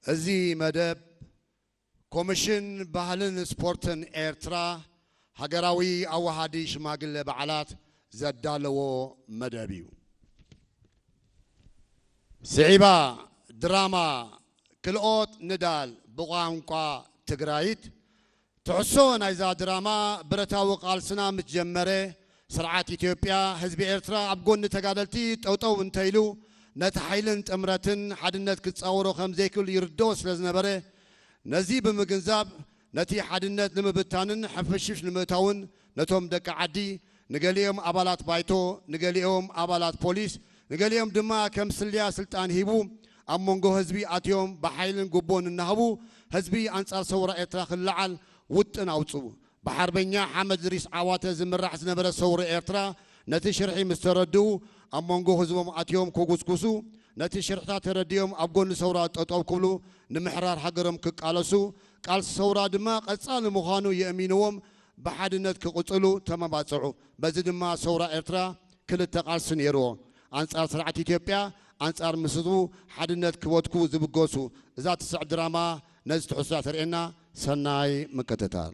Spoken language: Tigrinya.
እዚ መደብ ኮሚሽን ባህልን ስፖርትን ኤርትራ ሃገራዊ ኣዋሃዲ ሽማግለ በዓላት ዘዳለዎ መደብ እዩ። ስዒባ ድራማ ክልኦት ንዳል ብቋንቋ ትግራይት። ትሕሶ ናይዛ ድራማ ብረታዊ ቃልስና ምስ ጀመረ፣ ስርዓት ኢትዮጵያ ህዝቢ ኤርትራ ኣብ ጎኒ ተጋደልቲ ጠውጠው እንተኢሉ፣ ነቲ ሓይልን ጥምረትን ሓድነት ክጻወሮ ከም ዘይክእል ይርድኦ ስለ ዝነበረ፣ ነዚ ብምግንዛብ ነቲ ሓድነት ንምብታንን ሕፍሽፍሽ ንምእታውን ነቶም ደቂ ዓዲ፣ ንገሊኦም ኣባላት ባይቶ፣ ንገሊኦም ኣባላት ፖሊስ፣ ንገሊኦም ድማ ከም ስልያ ስልጣን ሂቡ ኣብ መንጎ ህዝቢ ኣትዮም ብሓይልን ጉቦን እናሃቡ ህዝቢ ኣንጻር ሰውራ ኤርትራ ክለዓል ውጥን ኣውጽኡ። ብሓርበኛ ሓመድ ድሪስ ዓዋተ ዝምራሕ ዝነበረ ሰውራ ኤርትራ ነቲ ሽርሒ ምስ ተረድኡ ኣብ መንጎ ህዝቦም ኣትዮም ክጉስጉሱ፣ ነቲ ሽርሕታት ተረዲኦም ኣብ ጎኒ ሰውራ ጠጠው ክብሉ ንምሕራር ሃገሮም ክቃለሱ፣ ቃልሲ ሰውራ ድማ ቀጻሊ ምዃኑ የእሚንዎም ብሓድነት ክቕጽሉ ተመባጽዑ። በዚ ድማ ሰውራ ኤርትራ ክልተ ቃልሲ ነይርዎ። ኣንጻር ስርዓት ኢትዮጵያ፣ ኣንጻር ምስ ህዝቡ ሓድነት ክወትኩ ዝብገሱ። እዛ ትስዕ ድራማ ነዚ ትሕዝቶ ተርእየና። ሰናይ ምክትታል።